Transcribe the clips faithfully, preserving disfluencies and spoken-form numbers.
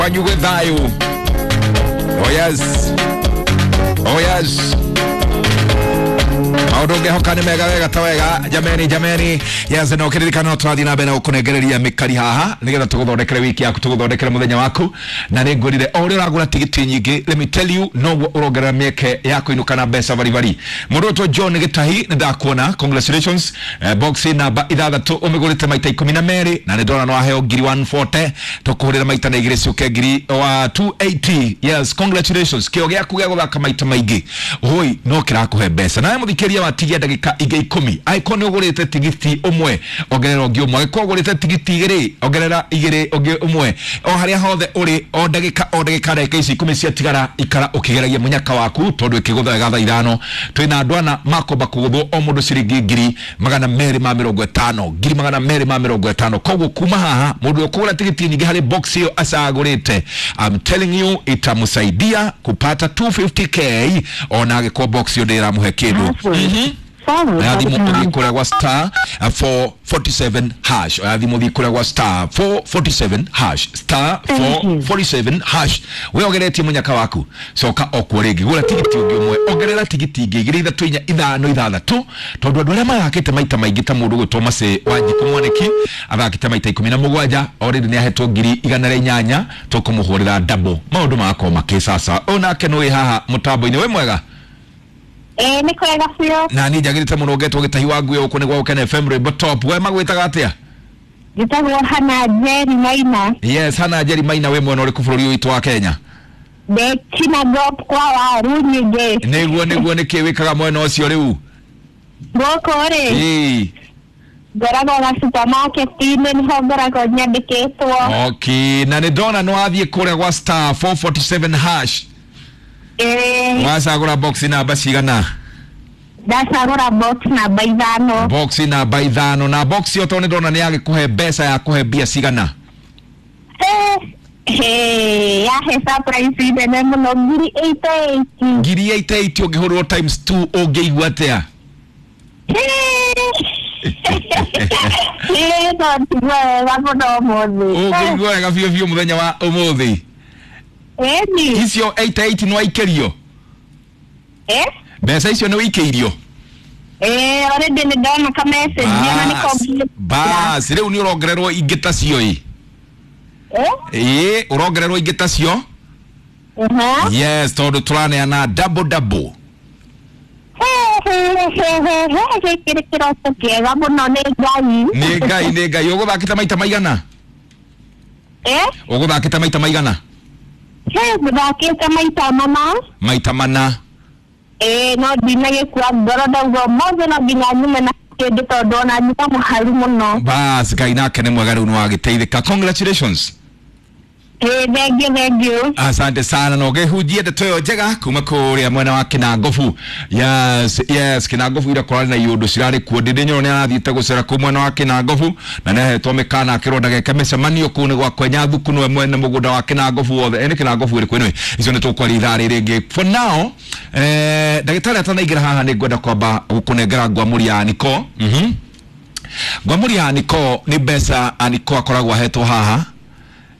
Kwanyu gwĩ thayũ. Oh yes, oh yes, maũndũ ngehoka nĩ mega wega ta wega. Jameni, jameni, yes, no kĩririkano no tũrathiĩ na mbere na gũkũnengereria mĩkari haha nĩgetha tũgũthondekere wiki yaku, tũgũthondekere mũthenya waku. Na nĩ ngwĩrire o ũrĩa ũragũra tigiti nyingĩ, let me tell you, noguo ũrongerera mĩeke ya kũinũka na mbeca baribari. Mũndũ ũtwo John Gĩtahi, nĩ ndakuona, congratulations. eh, box namba ithathatũ ũmĩgũrĩte maita ikũmi na merĩ na nĩ ndona no waheo ngiri igana rĩa mĩrongo ĩna. Tũkũhũrĩra maita na igĩrĩ ciũke ngiri wa magana merĩ na mĩrongo ĩnana. Yes, congratulations. Kĩo gĩaku gĩa gũthaka maita maingĩ hoi no kĩrakũhe mbeca. Nawe mũthikĩria, watigia ndagĩka ingĩ ikũmi. Angĩkorwo nĩ ũgũrĩte tigiti ũmwe, ongerera ũngĩ ũmwe. Angĩkorwo ũgũrĩte tigiti igĩrĩ, ongerera igĩrĩ ũngĩ ũmwe. O harĩa hothe ũrĩ, o ndagĩka o ndagĩka, ndagĩka ici ikũmi ciatigara, ikara ũkĩgeragia mũnyaka waku, tondũ ĩkĩgũtha wega thaa ithano twĩna andũ ana makomba kũgũthwo o mũndũ ciringi ngiri magana merĩ ma mĩrongo ĩtano, ngiri magana merĩ ma mĩrongo ĩtano. Koguo kuma haha mũndũ ũkũgũra tigiti nyingĩ harĩ box ĩyo acagũrĩte, I'm telling you, itamsaidia kupata magana merĩ na mĩrongo ĩtano k ona angĩkorwo box ĩyo ndĩramũhe kĩndũ. Followed Oya by the thimũ ũthiĩ pound. kũrĩa gwa star four forty-seven hash. Oya thimũ ũthiĩ kũrĩa gwa star four forty-seven hash, star Thank you. four forty-seven hash. We ongeretie mũnyaka waku, coka okuo rĩngĩ, gũra tigiti ũngĩ ũmwe, ongerera tigiti ingĩ igĩrĩ, ithatũ, inya, ithano, ithathatũ, tondũ andũ arĩa mathakĩte maita maingĩ ta mũndũ gwĩtwo Macĩ wa Njikũ Mwanĩki, athakĩte maita ikũmi na mũgwanja, already nĩ ahetwo ngiri igana rĩa inyanya. Tũkũmũhũrĩra double, maũndũ magakorwo makĩcaca. Ũyũ nake nĩ wĩ haha mũtambo-inĩ, wĩ mwega? Ĩĩ, nĩ kwega biũ. Na niĩ njagĩrĩte mũno ngetwo Gĩtahi wa Nguo gũkũ nĩ gwa Gũkena F M, rwĩmbo top. We magwĩtaga atĩa? Njĩtagwo Hana Njeri Maina. Yes, Hana Njeri Maina, wĩ mwena ũrĩkũ bũrũri ũyũ witũ wa Kenya? Ndĩ Kinangop kwa waru nyingĩ. Nĩguo, nĩguo. Nĩkĩ wĩkaga mwena ũcio rĩu? Gũkũ rĩ, Ĩĩ. ngoragwo ga supermarket-inĩ, nĩho ngoragwo nyandĩkĩtwo. Okay, na nĩ ndona nĩ wathiĩ kũrĩa gwa star four forty-seven hash. Ĩĩ. Wacagũra box namba cigana? Ndacagũra box namba ithano. Box namba ithano. Na box ĩyo, tondũ nĩ ndona nĩ yagĩkũhe mbeca, ya kũhe mbia cigana? Eh, yahe surprise nene mũno, ngiri eighty eight. Ngiri eighty eight. Ũngĩhũrĩrwo times two ũngĩigua atĩa? Ĩĩ, no njigue wega mũno ũmũthĩ. Ũngĩigua wega biũ biũ mũthenya wa ũmũthĩ. Ĩni. Icio eighty eight nĩ waikĩrio? Eh? Mbeca icio nĩ wĩikĩirio? Ĩĩ, already nĩ ndona ka message na nĩ complete. Bas, rĩu nĩ ũrongererwo ingĩ ta cio ĩ. Eh? Ĩĩ, ũrongererwo ingĩ ta cio. Uh-huh. Yes, tondũ tũraneana double double. Gĩkĩ nĩ kĩroto kĩega mũno, nĩ Ngai. Nĩ Ngai, nĩ Ngai. Ũgũthakĩte maita maigana? Eh? Ũgũthakĩte maita maigana? He, ngũthakĩte maita mana. Maita mana. Ĩĩ, no ndinagĩkua ngoro, ndauga ũmũthĩ no nginya nyume na kĩndũ tondũ ona nyuma mũharu mũno. Bas, Ngai nake nĩ mwega, rĩu nĩ wagĩteithĩka. Congratulations. Ĩĩ, thank you, thank you. Asante sana na ũgĩhunjie ndeto ĩyo njega kuma kũrĩa mwena wa Kinangobu. Yes, yes, Kinangobu ira kũrarĩ na iũndũ cirarĩ kuo. Ndĩndĩ Nyoro nĩ arathiĩte gũcera kũu mwena wa Kinangobu na nĩ ahetwo mĩkana akĩrwo ndageke mĩcemanio kũu nĩ gwa kwenya thuku, nĩwe mwene mũgũnda wa Kinangobu wothe. Ĩ nĩ Kinangobu ĩrĩkũ? Anyway, icio nĩ tũkwaria ithaa rĩrĩ rĩngĩ. For now, eh, ndagĩtarĩ atanaingĩra haha, nĩ ngwenda kwamba gũkũnengera ngwamũri ya Aniko. mhm ngwamũri ya Aniko nĩ mbeca Aniko akoragwo ahetwo haha.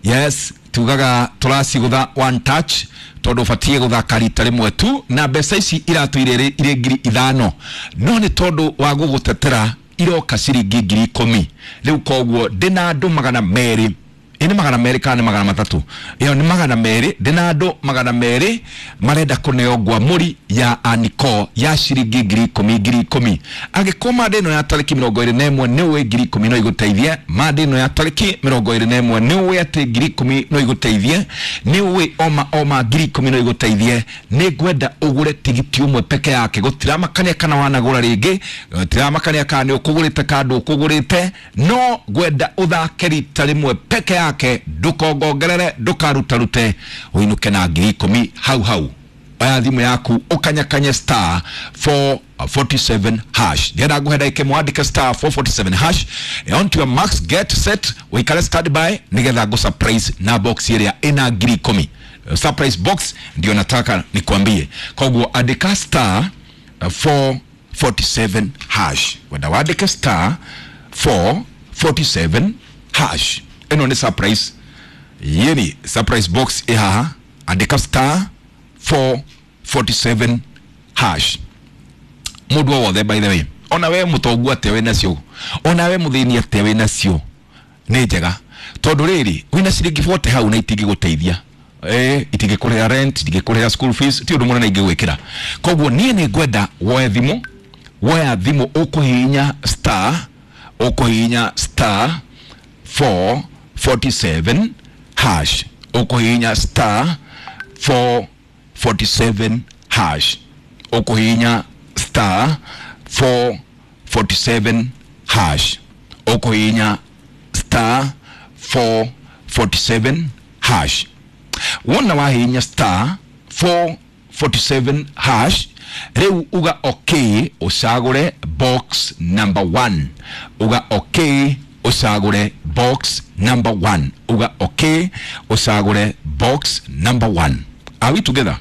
Yes, tugaga tũracigũtha one touch tondũ ũbatiĩ gũthaka rita rĩmwe tu, na mbeca ici iratũire irĩ irĩ ngiri ithano, no nĩ tondũ wa gũgũtetera iroka ciringi ngiri ikũmi rĩu. Koguo ndĩna andũ magana merĩ, ĩ nĩ magana merĩ kana nĩ magana matatũ? Ĩyo nĩ magana merĩ. Ndĩna andũ magana merĩ marenda kũneo ngwamũri ya Aniko ya ciringi ngiri ikũmi, ngiri ikũmi. Angĩkorwo manda ĩno ya tarĩki mĩrongo ĩrĩ na ĩmwe nĩ ũĩ ngiri ikũmi no igũteithie, manda ĩno ya tarĩki mĩrongo ĩrĩ na ĩmwe nĩ ũĩ atĩ ngiri ikũmi no igũteithie, nĩ ũĩ oma oma ngiri ikũmi no igũteithie, nĩ ngwenda ũgũre tigiti ũmwe peke yake. Gũtiramakania kana wanagũra rĩngĩ, gũtiramakania kana nĩ ũkũgũrĩte kana ndũkũgũrĩte, no ngwenda ũthake rita rĩmwe peke yake, ndũkongongerere, ndũkarutarute, ũinũke na ngiri ikũmi hau hau. Oya thimũ yaku ũkanyakanye star four forty-seven hash. Ndĩrenda nguhe ndagĩka ĩmwe wandĩke star four forty-seven hash. On to your marks, get set, ũikare stand by nĩgetha ngũ surprise na box ĩrĩa ĩna ngiri ikũmi. Surprise box ndio nataka nikwambie. Koguo andĩka star four forty-seven hash, wenda wandĩke star four forty-seven hash. Ĩno nĩ surprise. Yeni surprise box ĩ haha, andĩka star four forty-seven hash. Mũndũ o wothe, by the way, ona we mũtongu atĩa wĩ nacio, ona we mũthĩni atĩa wĩ nacio, nĩ njega tondũ rĩrĩ wĩna ciringi forty hau na itingĩgũteithia, eh itingĩkũrĩhĩra rent, itingĩkũrĩhĩra school fees, ti ũndũ mũnene ingĩgwĩkĩra. Koguo niĩ nĩ ngwenda woe thimũ, woya thimũ ũkũhihinya star, ũkũhihinya star four forty-seven hash, ũkũhihinya star four forty-seven hash, ũkũhihinya star four forty-seven hash, ũkũhihinya star four forty-seven hash. Wona wahihinya star four forty-seven hash, rĩu uga okay, ũcagũre box number one. Uga okay, ũcagũre box number one. Uga okay, ũcagũre box number one. Are we together?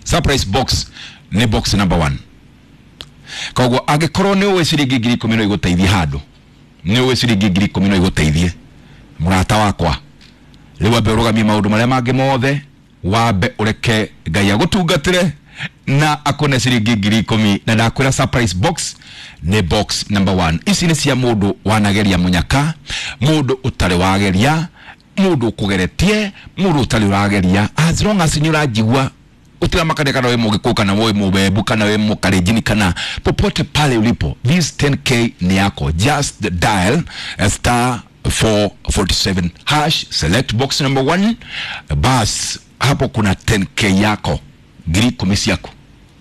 Surprise box nĩ box number one. Koguo angĩkorwo nĩ ũĩ ciringi ngiri ikũmi no igũteithie handũ, nĩ ũĩ ciringi ngiri ikũmi no igũteithie mũrata wakwa, rĩu wambe ũrũgamie maũndũ marĩa mangĩ mothe, wambe ũreke Ngai agũtungatĩre na akũne ciringi ngiri ikũmi. Na ndakwĩra surprise box nĩ box number one. Ici nĩ cia mũndũ wanageria mũnyaka, mũndũ ũtarĩ wageria, mũndũ ũkũgeretie, mũndũ ũtarĩ ũrageria. As long as nĩ ũranjigua, ũtiramakania kana wĩ mũgĩkũyũ kana wĩ mũbembu kana wĩ mũkalenjini kana popote pale ulipo, this ten K ni yako. Just dial star four forty-seven hash, select box number one, bas hapo kuna ten K yako, ngiri ikũmi ciaku,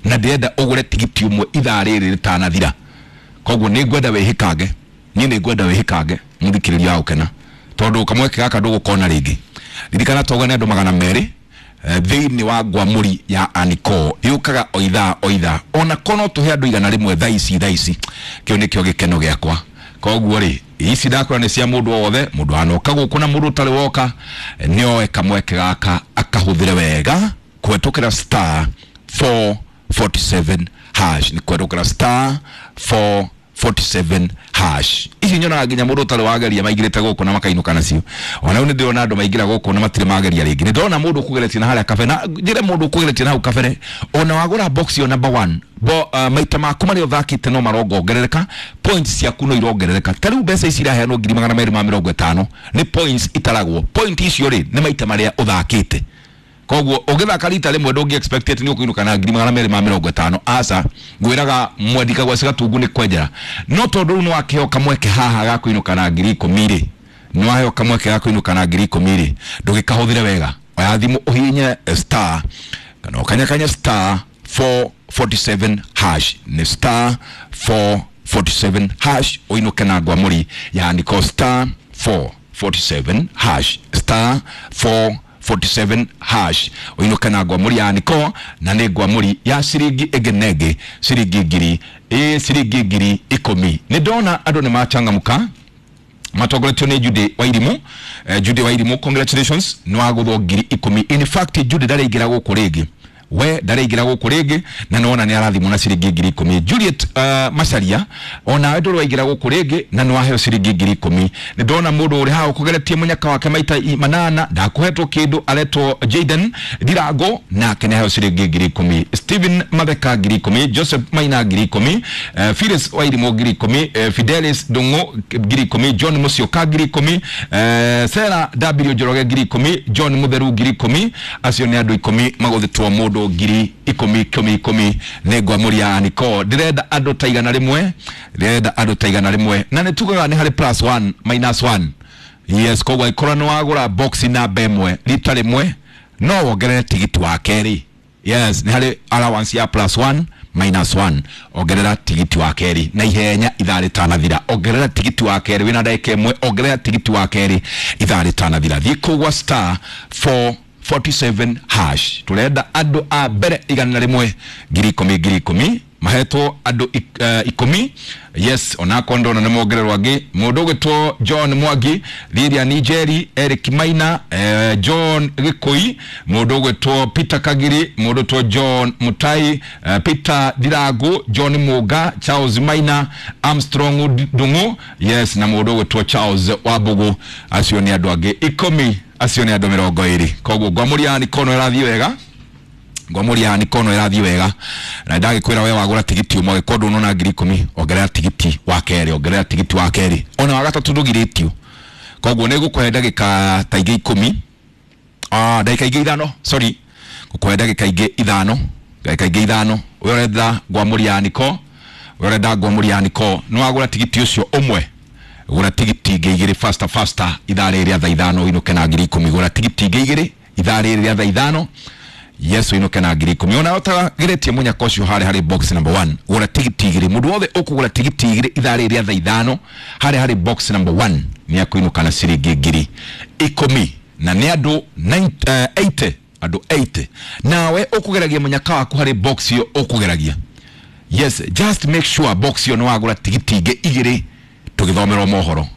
na ndĩrenda ũgũre tigiti ũmwe ithaa rĩrĩ rĩtanathira. Koguo nĩ ngwenda wĩhĩkange, niĩ nĩ ngwenda wĩhĩkange mũthikĩrĩria wa gũkena, tondũ kamweke gaka ndũgũkona rĩngĩ. Ririkana twauga nĩ andũ magana merĩ thĩinĩ wa ngwamũri ya Aniko, yũkaga o ithaa o ithaa, ona kono tũhe andũ igana rĩmwe thaa ici thaa ici, kĩu nĩkĩo gĩkeno gĩakwa. Koguo rĩ, ici ndakwĩra nĩ cia mũndũ o wothe, mũndũ wanoka gũkũ na mũndũ ũtarĩ woka, nĩ oe kamweke gaka akahũthĩre wega kũhetũkĩra star four forty-seven hash, nĩ kũhetũkĩra star four forty-seven hash. Ici nyonaga nginya mũndũ ũtarĩ wageria maingĩrĩte gũkũ na makainũka nacio. Ona rĩu nĩ ndĩrona andũ maingĩra gũkũ na matirĩ mageria rĩngĩ. Nĩ ndĩrona mũndũ ũkũgeretie na harĩa kabere, na njĩre mũndũ ũkũgeretie na hau kabere, ona wagũra box yo number one, bo, uh, maita maku marĩa ũthakĩte no marongongerereka, points ciaku no irongerereka. Ta rĩu mbeca ici iraheanwo ngiri magana merĩ ma mĩrongo ĩtano nĩ points itaragwo. Point icio rĩ nĩ maita marĩa ũthakĩte. Koguo ũngĩthaka rita rĩmwe ndũngĩ expect nĩ ũkũinũka na ngiri magana merĩ ma mĩrongo ĩtano. Aca, ngwĩraga mwendika gwa Gatungu nĩ kwenjera, no tondũ rĩu nĩ wakĩheo kamweke haha ga kũinũka na ngiri ikũmi rĩ, nĩ waheo kamweke ga kũinũka na ngiri ikũmi rĩ, ndũgĩkahũthĩre wega. Oya thimũ ũhihinye star kana ũkanyakanya star four forty-seven hash, nĩ star four forty-seven hash, ũinũke na ngwamũri ya Aniko, star four forty-seven hash, star four forty-seven hash, ũinũke na ngwamũri ya Aniko, na nĩ ngwamũri ya ciringi ĩngĩ na ĩngĩ, ciringi ngiri ĩ ciringi ngiri ikũmi. Nĩ ndona andũ nĩ machangamka matongoretio nĩ Judy Wairimu. Eh, Judy Wairimu, congratulations, nĩ wagũthwo ngiri ikũmi. In fact Judy ndaraingĩra gũkũ rĩngĩ, we ndaraingĩra gũkũ rĩngĩ, na nĩwona nĩ arathimwo na ciringi ngiri ikũmi. Juliet uh, Macharia, onawe ndũrĩ waingĩra gũkũ rĩngĩ, na nĩ waheo ciringi ngiri ikũmi. Nĩ ndona mũndũ ũrĩ haha ũkũgeretie mũnyaka wake maita manana, ndakũhetwo kĩndũ, aretwo Jaden Ndirango, nake nĩ aheo ciringi ngiri ikũmi. Stephen Matheka ngiri ikũmi, Joseph Maina ngiri ikũmi, uh, Phyllis Wairimu ngiri ikũmi, uh, Fidelis Ndung'u ngiri ikũmi, John Musyoka ngiri ikũmi, uh, Sarah W Njoroge ngiri ikũmi, John Mutheru ngiri ikũmi. Acio nĩ andũ ikũmi magũthĩtwo mũndũ ngiri ikũmi ikũmi ikũmi nĩ ngwamũri ya Aniko. Ndĩrenda andũ ta igana rĩmwe, ndĩrenda andũ ta igana rĩmwe, na nĩ tugaga nĩ harĩ plus one minus one. Yes, koguo angĩkorwo nĩ wagũra box namba ĩmwe rita rĩmwe, no wongerere tigiti wa kerĩ. Yes, nĩ harĩ allowance ya plus one minus one, ongerera tigiti wa kerĩ na ihenya ithaa rĩtanathira. Ongerera tigiti wa kerĩ wĩna ndagĩka ĩmwe, ongerera tigiti wa kerĩ ithaa rĩtanathira. Thiĩ kũu gwa star four forty-seven hash. Turenda andũ a mbere igana rĩmwe ngiri ikũmi ngiri ikũmi, mahetwo andũ uh, ikũmi. Yes, onakwa ndona nĩ mongererwo angĩ. Mũndũ ũgwĩtwo John Mwangi, Lilian Njeri, Eric Maina, eh, John Gĩkũi, mũndũ ũgwĩtwo Peter Kagiri, mũndũ ũgwĩtwo John Mutai, eh, Peter Ndirango, John Muga, Charles Maina, Armstrong Ndung'u, yes, na mũndũ ũgwĩtwo Charles Wambugu. Acio nĩ andũ angĩ ikũmi Acio nĩ andũ mĩrongo ĩrĩ. Koguo ngwamũria nikono ĩrathiĩ wega, ngwamũria nikono ĩrathiĩ wega, na ndagĩkwĩra we wagũra tigiti ũmwe gĩkorwo ndũnona ngiri ikũmi, ongerera tigiti wa kerĩ, ongerera tigiti wa kerĩ, ona wa gatatũ ndũgirĩtio. Koguo nĩ ngũkũhe ndagĩka ta ingĩ ikũmi, ah, ndagĩka ingĩ ithano, sorry, ngũkũhe ndagĩka ingĩ ithano, ndagĩka ingĩ ithano. We ũrenda ngwamũria niko, we ũrenda ngwamũria niko, nĩ wagũra tigiti ũcio ũmwe, gũra tigiti ingĩ igĩrĩ faster faster ithaa rĩrĩ rĩa thaa ithano ũinũke na ngiri ikũmi. Gũra tigiti ingĩ igĩrĩ ithaa rĩrĩ rĩa thaa ithano, yes, ũinũke na ngiri ikũmi. Ona ũtagĩrĩtie mũnyaka ũcio harĩa harĩ box number one, gũra tigiti igĩrĩ. Mũndũ wothe ũkũgũra tigiti igĩrĩ ithaa rĩrĩ rĩa thaa ithano harĩa harĩ box number one nĩ akũinũka na ciringi ngiri ikũmi, na nĩ andũ eighty, andũ eighty. Nawe ũkũgeragia mũnyaka waku harĩ box ĩyo ũkũgeragia, yes, just make sure box ĩyo nĩ wagũra tigiti ingĩ igĩrĩ tũgĩthomerwo mohoro.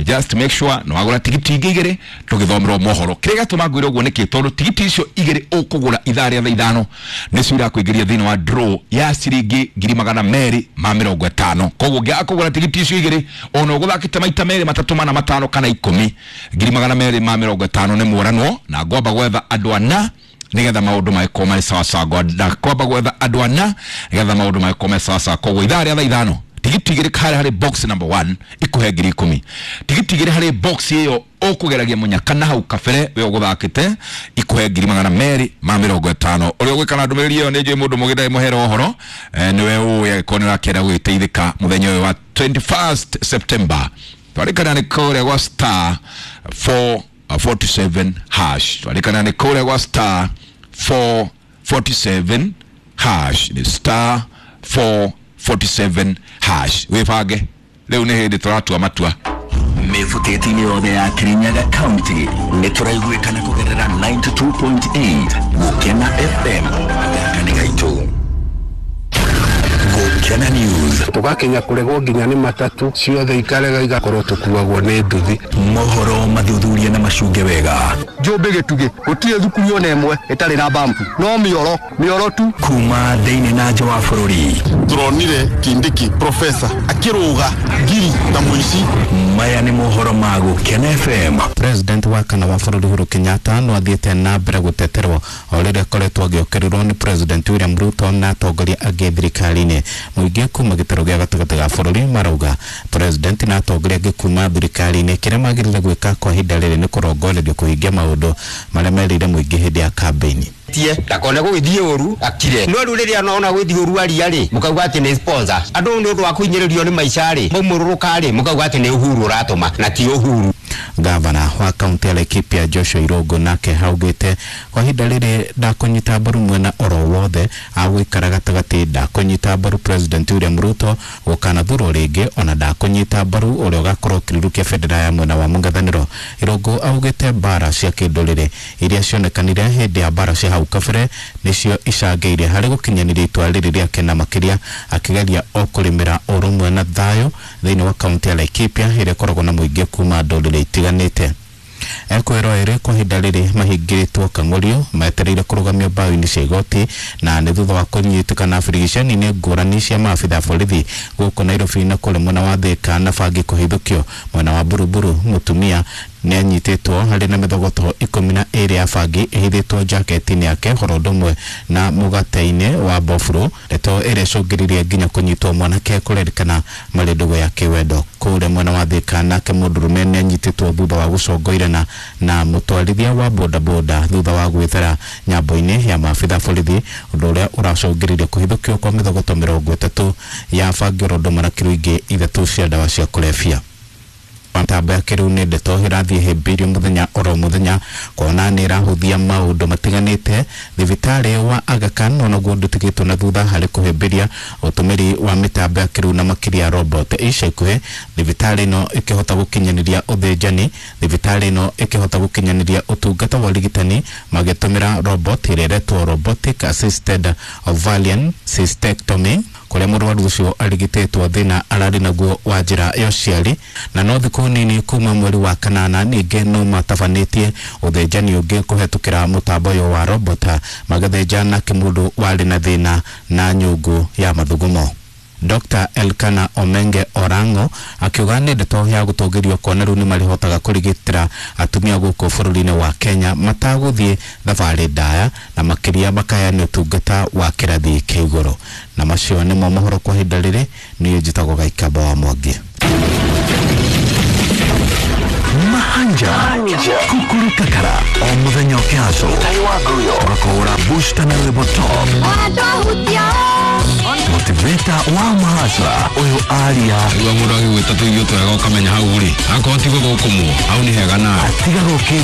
Just make sure nĩ wagũra tigiti ingĩ igĩrĩ tũgĩthomerwo mohoro. Kĩrĩa gĩatũma ngwĩre ũguo nĩkĩ? Tondũ tigiti icio igĩrĩ ũkũgũra ithaa rĩa thaa ithano nĩcio irakũingĩria thĩinĩ wa draw ya ciringi ngiri magana merĩ ma mĩrongo ĩtano. Koguo ũngĩaga kũgũra tigiti icio igĩrĩ, ona ũgũthakĩte maita merĩ matatũ mana matano kana ikũmi, ngiri magana merĩ ma mĩrongo ĩtano nĩ mũranwo. Na ngwamba gwetha andũ ana nĩgetha maũndũ magĩkorwo marĩ sawasawa. Ngwamba gwetha andũ ana nĩgetha maũndũ magĩkorwo marĩ sawasawa. Koguo ithaa rĩa thaa ithano tigiti igĩrĩ harĩa harĩ box number one ikuhe ngiri ikũmi, tigiti igĩrĩ harĩ box ĩyo ũkũgeragia mũnyaka na hau kabere we ũgũthakĩte ikuhe ngiri magana merĩ ma mĩrongo ĩtano. Ũrĩa ũgwĩka na ndũmĩrĩri ĩyo nĩ njũĩ mũndũ mũgĩ ndarĩ mũhera ũhoro, nĩwe ũĩ angĩkorwo nĩ ũrakĩenda gũgĩteithĩka mũthenya ũyũ wa twenty-first September. Twarĩkana nĩ kũrĩa gwa star four forty-seven hash, twarĩkana nĩ kũrĩa gwa star four forty-seven hash, nĩ star four forty-seven hash. Wĩbange rĩu nĩ hĩndĩ tũratua matua. Mĩbutĩti-inĩ yothe ya Kirinyaga County nĩ tũraiguĩkana kũgerera ninety-two point eight Gũkena F M. Gaka nĩ gaitũ. Gũkena News. Tũgakinya kũregwo nginya nĩ matatu ciothe ikarega igakorwo tũkuagwo nĩ nduthi. Mohoro mathuthuria na macunge wega. Njũmbĩ gĩtugĩ gũtirĩ thukuru ona ĩmwe ĩtarĩ na bambu, no mĩoro mĩoro tu. Kuma thĩinĩ na nja wa bũrũri. Tũronire Kindiki professor akĩrũga ngiri na mũici. Maya nĩ mohoro ma Gũkena F M. President wa kana wa bũrũri Uhuru Kenyatta no athiĩte na mbere gũteterwo o rĩrĩa akoretwo agĩũkĩrĩrwo nĩ President William Ruto na atongoria angĩ thirikari-inĩ. Mũingĩ kuma gĩtarũ gĩa gatagatĩ ga bũrũri marauga President na atongoria angĩ kuma thirikari-inĩ kĩrĩa magĩrĩire gwĩka kwa ihinda rĩrĩ nĩ kũrongorerio kũhingia maũndũ marĩa merĩire mũingĩ hĩndĩ ya kambĩini. Tie ndakone gũgĩthiĩ ũru akire, no rĩu rĩrĩa nona gũgĩthiĩ ũru aria rĩ, mũkauga atĩ nĩ sponsor. Andũ nĩ ũndũ wa kũhinyĩrĩrio nĩ maica rĩ, maumũrũrũka rĩ, mũkauga atĩ nĩ Uhuru ũratũma na ti Uhuru. Gavana wa kaunti ya Laikipia Joshua Irungu nake augĩte kwa ihinda rĩrĩ ndakũnyita mbaru mwena oro wothe, agũikara gatagatĩ, ndakũnyita mbaru President William Ruto gũkanathurwo rĩngĩ, ona ndakũnyita mbaru ũrĩa ũgakorwo ũkĩrũkia bendera ya mwena wa mũng'ethanĩro. Irungu augĩte mbara cia kĩndũrĩrĩ iria cionekanire hĩndĩ ya mbara cia hau kabere nĩcio icangĩire harĩ gũkinyanĩria itua rĩrĩ rĩake, na makĩria akĩgeria o kũrĩmĩra ũrũmwe na thayũ thĩinĩ wa kaunti ya Laikipia ĩrĩa ĩkoragwo na mũingĩ kuma ndũrĩrĩ itiganĩte. Ekwĩrwo ĩrĩ kwa ihinda rĩrĩ mahingĩrĩtwo kang'ũrio metereire kũrũgamio mbaũ-inĩ cia igoti, na nĩ thutha wa kũnyitĩkana birigiceni-inĩ ngũrani cia maabitha a borithi gũkũ Nairobi na kũrĩ mwena wa Thika na bangi kũhithũkio mwena wa Buruburu. Mũtumia nĩ anyitĩtwo harĩ na mĩthogoto ikũmi na ĩrĩ ya bangi ĩhithĩtwo jaketi-inĩ yake horo ũndũ ũmwe na mũgate-inĩ wa bofuro, ndeto ĩrĩa ĩcũngĩrĩirie nginya kũnyitwo mwanake kũrerĩkana marĩ ndũgũ ya kĩwendo. Kũrĩa mwena wa Thika nake mũndũrũme nĩ anyitĩtwo thutha wa gũcongoirana na mũtwarithia wa bodaboda thutha wa gwĩthara nyambo-inĩ ya maabitha borithi, ũndũ ũrĩa ũracũngĩrĩirie kũhithũkio kwa mĩthogoto mĩrongo ĩtatũ ya bangi oro ũndũ ũmwe na kiro ingĩ ithatũ cia ndawa cia kũrebia. Mĩtambo ya kĩrĩu nĩ ndeto ĩrathiĩ ĩhĩmbĩirio mũthenya oro mũthenya kuona nĩ ĩrahũthia maũndũ matiganĩte. Thibitarĩ wa Aga Khan onaguo ndũtigĩtwo na thutha harĩ kũhĩmbĩria ũtũmĩri wa mĩtambo ya kĩrĩu na makĩria robot. Ica ikuhĩ thibitarĩ ĩno ĩkĩhota gũkinyanĩria ũthĩnjani, thibitarĩ ĩno ĩkĩhota gũkinyanĩria ũtungata wa ũrigitani magĩtũmĩra robot ĩrĩa ĩretwo robotic assisted ovarian cystectomy, kũrĩa mũrwaru ũcio arigitĩtwo thĩna ararĩ naguo wa njĩra ya ũciari. Na no thikũ nini kuma mweri wa kanana ningĩ no matabanĩtie ũthĩnjani ũngĩ kũhetũkĩra mũtambo ũyũ wa robot, magĩthĩnja nake mũndũ warĩ na thĩna na nyũngũ ya mathugumo. Doctor Elkana Omenge Orango akiuga nĩ ndeto ya gũtũgĩrio kuona rĩu nĩ marĩhotaga kũrigitĩra atumia gũkũ bũrũri-inĩ wa Kenya matagũthiĩ thabarĩ ndaya na makĩria makaheana ũtungata wa kĩrathi kĩa igũrũ. Na macio nĩmo mohoro kwa ihinda rĩrĩ. Niĩ njĩtagwo Gaikamba wa Mwangi. Mahanja Kukuru Kakara o muthenya ũkĩhaco tũgakũhũra booster na rwĩmbo top motivator wa mahasra ũyũ aria Rĩu mũndũ agĩgwĩta tũirio twega ũkamenya hau rĩ akorwo ti gũthũkũmwo hau nĩ hega nawe atiga gũkĩ